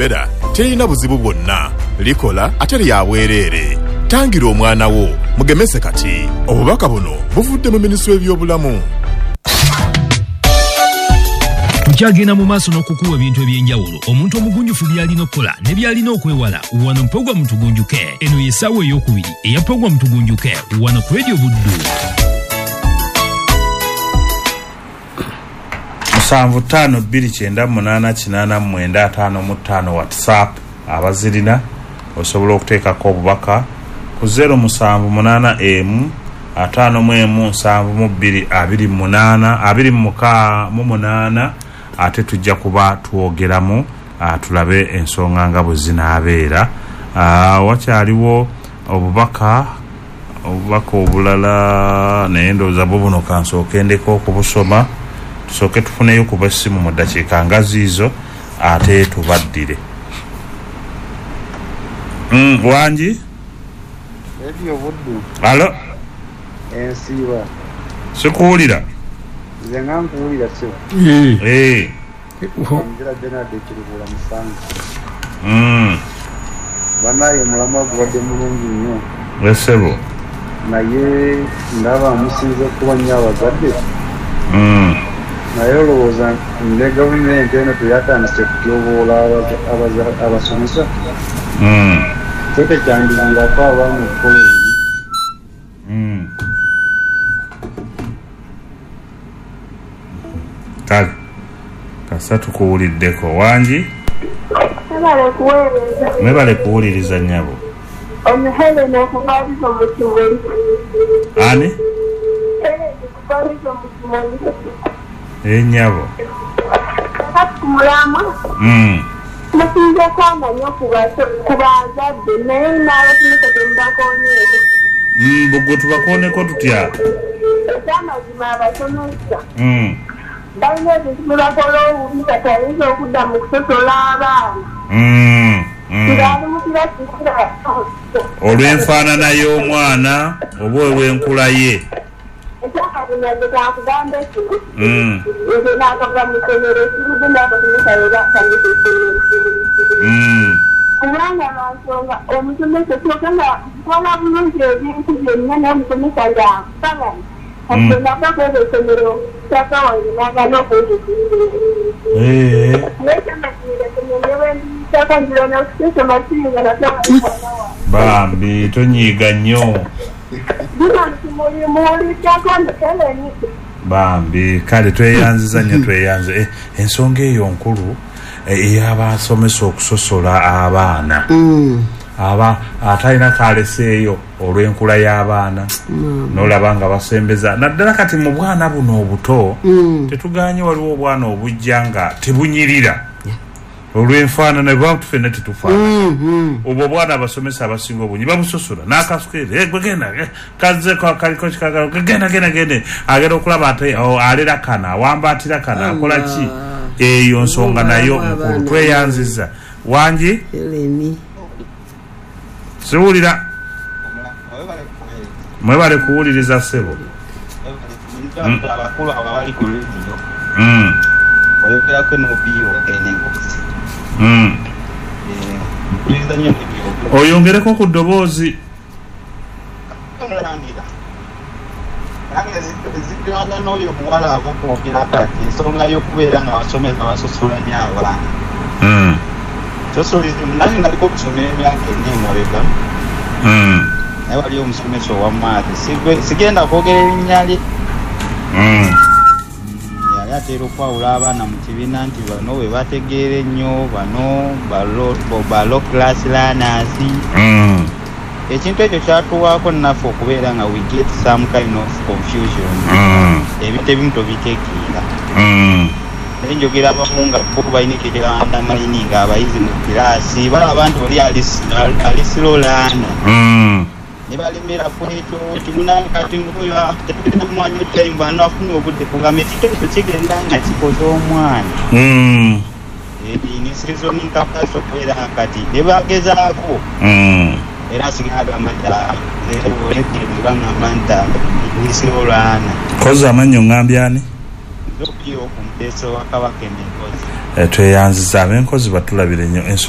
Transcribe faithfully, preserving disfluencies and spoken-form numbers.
Rubella terina buzibu bwonna, likola ate lya bwereere. Tangira omwana wo, mugemese kati. Obubaka buno buvudde mu minisitule y'ebyobulamu. Tukyagenda mu maaso n'okukuwa ebintu eby'enjawulo omuntu omugunjufu by'alina okukola ne by'alina okwewala wano mu pulogulaamu Tugunjuke. Eno ye ssaawa ey'okubiri eya pulogulaamu Tugunjuke wano ku Radio Buddu. Musanvu ttaano bbiri kyenda munaana kinaana mwenda ataano mu ttaano WhatsApp abazirina osobola okuteekako obubaka ku zero musanvu munaana emu ataano mu emu nsanvu mu bbiri abiri munaana abiri muka mu munaana ate tujja kuba twogeramu tulabe ensonga nga bwe zinaabeera. Wakyaliwo obubaka obubaka obulala naye ndowooza bwo buno kansooke ndeko okubusoma tusooke tufuneyo kuba essimu mu ddakiika nga ziizo ate tubaddire. Mm, wangi? Radio Buddu. Alo? Ensiiba. Sikuwulira. Nze nga nkuwulira ssebo. Eh. Ngira Bernard Kirubula Musango. Mm. Banaye mulamwa gubadde mulungi nnyo. Ssebo. Naye ndaba musinze kuba nnyo abazadde. Mm. Naye olowooza ne gavumenti eno teyatandise kutyoboola abasomesa. Mm. Kyo tekyandiyambako abaana okukola ebibi. Mm. Kale kasa tukuwuliddeko. Wangi? Mwebale kuweereza. Mwebale kuwuliriza nnyabo. Ono Helen okuva mu Kimuli. Ani? Helen okuva mu Kimuli. Eh nnyabo. Kati ku mulamwa. Mm. Musinze kwanga nnyo ku bazadde naye n'abasomesa temubakoonyeeko. Mm, bwe tubakooneko tutya? Ekyamazima abasomesa. Mm. Balina ebintu bye bakola obubi kati ayinza okudda mu kusosola abaana. Mm, mm. Ng'ali mu kirasi kirala. Olw'enfaanana y'omwana oba olw'enkula ye. Ekyamazima nze kankugamba ekino. Mm. Nze naakava mu ssomero ekirudde n'abasomesa be batandika essomero. Mm. Kubanga lwa nsonga omusomesa kyokka nga nkola bulungi ebintu byonna naye omusomesa ng'anfagana. Kati nava kwebyo essomero kyaka wange n'agaana okunzikiriza. Eh. Naye ekyamazima essomero ne bwe ndiyitako nzira n'okusoma siyinza nate mwana wange. Bambi tonyiiga nnyo. Bino nti muwuliddako Helen. Bambi kale tweyanziza nnyo tweyanze. Eh, ensonga eyo nkulu ey'abasomesa okusosola abaana. Mm. Aba atalina kaleseeyo olw'enkula y'abaana mm. n'olaba nga basembeza naddala kati mu bwana buno obuto mm. tetuganye waliwo obwana obujja nga tebunyirira yeah. olw'enfaanana bantu ffenna tetufaanana. mm, mm. Obwo obwana abasomesa abasinga obungi babusosola n'akasukeere gwe genda kazze kaliko kikagalo genda genda genda agenda okulaba ate alera kana awambaatira kana akola ki eyo nsonga nayo nkulu tweyanziza. Wangi? Eleni. Siwulira. Mwebale kuwuliriza ssebo. Abakulu abali ku radio. Mm. Oyogerako n'Obio enengozi. Mm. Eh, mpuliriza nnyo ebyo. Oyongereko ku ddoboozi. Omulangira. Nange zigirana n'oyo omuwala ava okwogera kati ensonga y'okubeera nga abasomesa basosola nnyo abaana. Mm. Socialism nange naliko okusomera emyaka ena emabega. Mm. Naye waliyo omusomesa owa maths. Sigenda kwogera erinnya lye. Mm. Yali atera okwawula abaana mu kibiina nti bano bwe bategeera ennyo bano ba low class learners. Mm. Ekintu ekyo kyatuwaako naffe okubeera nga we get some kind of confusion. Mm. Ebintu ebimu tobitegeera. Mm. Naye njogera abamu nga bo balina ekyekyandamaini nga abayizi mu kiraasi balaba nti oli ali slow learner. Mm. Ne balemera ku ekyo nti kati ng'oyo tetulina mwanya time bano afuna obudde kugamba ekintu ekyo kigenda nga kikoza omwana. Mm. Ni reasoning capacity okubeera kati ne bagezaako. Mm. Era asigala agamba nti bagamba nti ndi slow learner. Koza amannyo ngambye ani? Okumteesa wa Kabaka Enenkozi. Tweyanziza ab'enkozi batulabire nnyo.